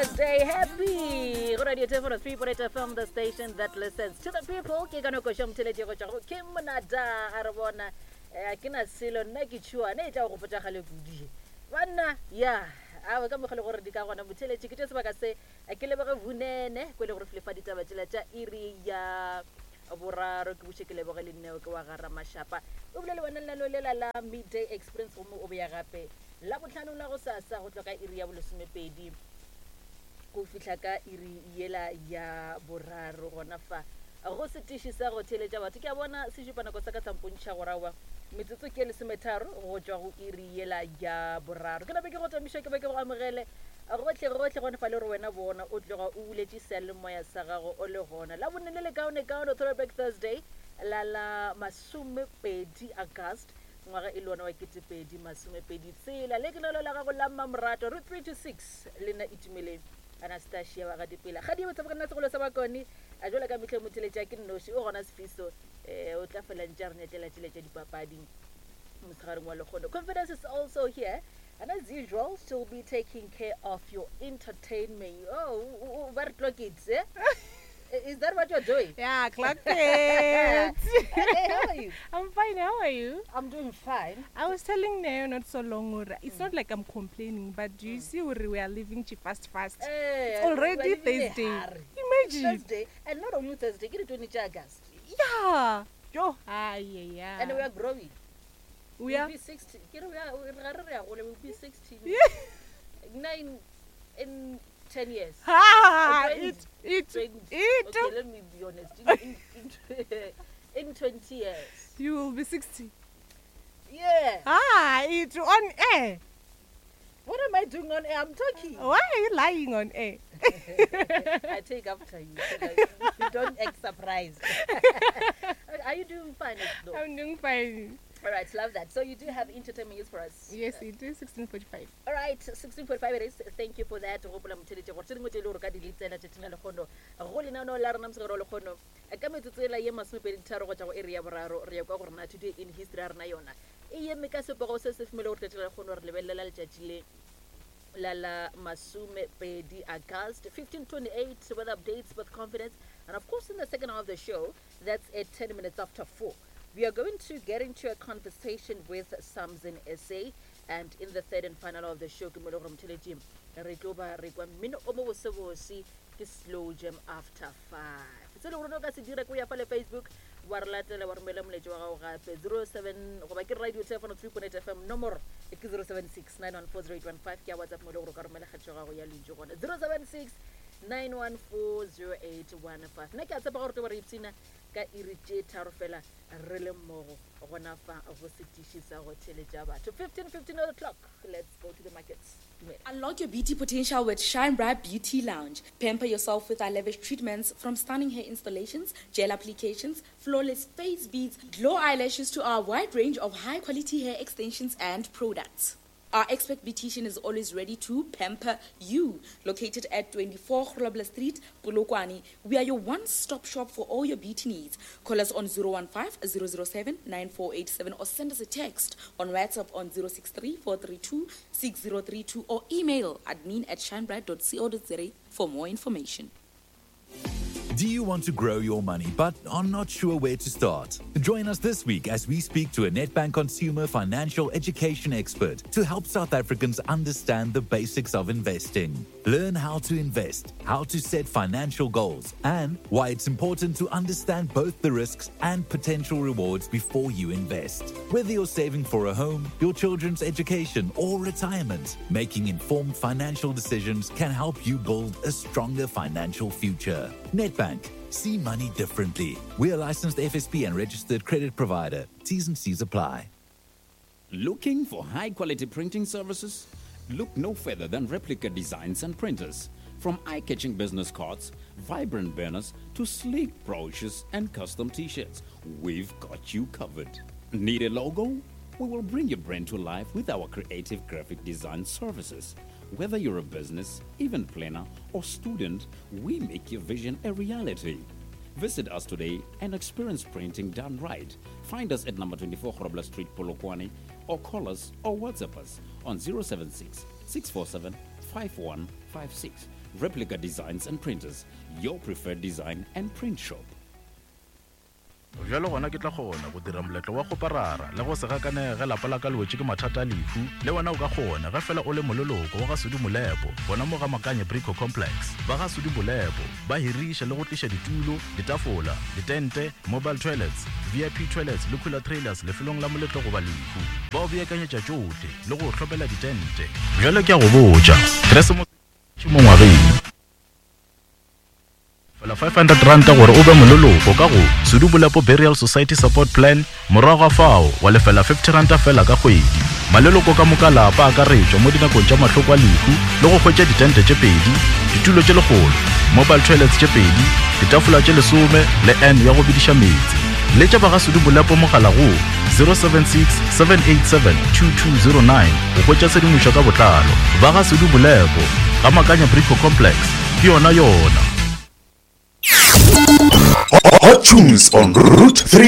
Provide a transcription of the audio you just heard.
Thursday. Happy. Go radio 10.3.8 FM, the station that listens to the people. Ke ka nako šo motheletše go tšwa go Kim Monada a re bona eh, ke na selo nna ke tšhuane e tla go gopotša gale kudu. Banna ya awe ka mokgwa le gore di ka gona motheletše ke tše sebaka se eh, ke leboge vunene ko e le gore file fa ditaba tšela tša iri ya boraro ke buše ke leboge le nneo ke wa gara mašapa o bile le wena lenaneo lela la midday experience gomme o boya gape Labohlano la gosasa go tloga ka iri ya bolesomepedi go fihla ka iri yela ya boraro gona fa go setiši sa go theeletša batho. Ke a bona se šupa nako sa ka sa mpontšha gore aowa metsotso ke lesometharo go tšwa go iri yela ya boraro. Ke nape ke go tamiša ke be ke go amogele gohle gohle gone fa le gore wena bona o tloga o buletše seyalemoya sa gago o le gona. Labone le lekaonekaone Throwback Thursday la la masomepedi August Ngwaga e le wona wa 2020 tshela. Le ke lelo la gago la mmamoratwa route 3 to 6 le nna Itumeleng Anastasia wa ga Dipela. Kgadi ye botse nna segolo sa bakone a jwala ka mehle motheletša ke nnoši o gona Sifiso eh o tla fela ntše a re nyetlela tšele tša dipapadi motshegareng wa lekgono. Confidence is also here and as usual she'll be taking care of your entertainment. Oh, ba re clock it, eh? Is that what you're doing? Yeah, clock it. hey, how are you? I'm fine. How are you? I'm doing fine. I was telling Neo not so long. Ora, it's mm. not like I'm complaining, but do you mm. see where we are living fast, fast? Hey, it's already Thursday. Imagine. Thursday, and not only Thursday, get it 20 August. Yeah. Yo. Ah, yeah, yeah. And we are growing. We are be 60. We are, we'll be 60. Yeah. Nine in 10 years. Ha! It, it, 20, it. Okay, let me be honest. In, in, in, in 20 years. You will be 60. Yeah. Ah, it's on air. What am I doing on air? I'm talking. Why are you lying on air? I take after you. So you don't act surprised. Are you doing fine? Though? I'm doing fine. All right, love that. So you do have entertainment news for us. Yes, it is 16:45. All right, 16:45 it is. Thank you for that. Gopola motheletše gore tše dingwe tše e le gore ka di letsela tšatšing la lekgono go lenaneo la rena mosegare wa lekgono ka metsotso ela ye masomepedi tharo go tša go iri ya boraro re ya kwa gore na today in history ya rena yona e eme ka sepego se se fomele gore tšatši la lekgono re lebelela letšatši le la la masomepedi August 1528 weather updates with confidence and of course in the second half of the show that's at 10 minutes after 4 we are going to get into a conversation with Samson SA and in the third and final of the show ke mo le gore motheletši re tlo ba re kwa mmino o mo bosebose ke slow jam after 5 se le gore o ka se dira ke o ya fa le Facebook wa re latela wa romela moletši wa gago gape 07 goba ke radio telefono 3.8 fm nomoro ke 076 914 ke ya whatsapp mo le gore o ka romela kgatšo ya gago ya lentšu gona 076 9140815 nna ke a tshepa gore tlo ba re ipshina ka iri tše tharo fela re le mmogo gona fa go setiši sa go theletša batho 15 15 o'clock let's go to the markets dumela Unlock your beauty potential with Shine Bright Beauty Lounge. Pamper yourself with our lavish treatments from stunning hair installations, gel applications, flawless face beads, glow eyelashes to our wide range of high quality hair extensions and products. Our expert beautician is always ready to pamper you. Located at 24 Grobler Street, Polokwane, we are your one-stop shop for all your beauty needs. Call us on 015 007 9487 or send us a text on WhatsApp on 063 432 6032 or email admin at shinebright.co.za for more information. Do you want to grow your money but are not sure where to start? Join us this week as we speak to a Nedbank consumer financial education expert to help South Africans understand the basics of investing. Learn how to invest, how to set financial goals, and why it's important to understand both the risks and potential rewards before you invest. Whether you're saving for a home, your children's education, or retirement, making informed financial decisions can help you build a stronger financial future. Nedbank. See money differently. We are licensed FSP and registered credit provider. T's and C's apply. Looking for high quality printing services? Look no further than Replica Designs and Printers. From eye catching business cards, vibrant banners, to sleek brochures and custom t shirts, we've got you covered. Need a logo? We will bring your brand to life with our creative graphic design services. Whether you're a business, event planner, or student, we make your vision a reality. Visit us today and experience printing done right. Find us at number 24 Grobler Street, Polokwane, or call us or WhatsApp us on 076 647 5156. Replica Designs and Printers, your preferred design and print shop. Bjalo gona ke tla kgona go dira moletlo wa kgoparara le go se gakanege ge lapa la ka le wetše ke mathata a lehu. Le wena o ka kgona ge fela o le moleloko wa ga Sudi Molepo gona mo ga Makanye Brico Complex. Ba ga Sudi Molepo ba hiriša le go tliša ditulo, ditafola, ditente, mobile toilets, VIP toilets le cooler trailers lefelong la moletlo goba lehu. Ba o beakanyetša tšohle le go o hlopela ditente. Bjale ke a go botša, Keresemose e mo ngwageng. Fela R500 gore o be moleloko ka go Sudu Bolepo Burial Society Support Plan, morago ga fao wa lefela R50 fela ka kgwedi. Maleloko ka moka lapa a akaretšwa mo dinakong tša mahloko a lehu le go hwetša ditente tše pedi, ditulo tše lekgolo, mobile toilets tše pedi, ditafola tše lesome le urn ya go bediša meetse. Letša ba ga Sudu Bolepo mogala go 076 787 2209 go hwetša tshedimošo ka botlalo. Ba ga Sudu Bolepo, ga Makanya Brico Complex. Ke yona yona. Hot tunes on Route 3.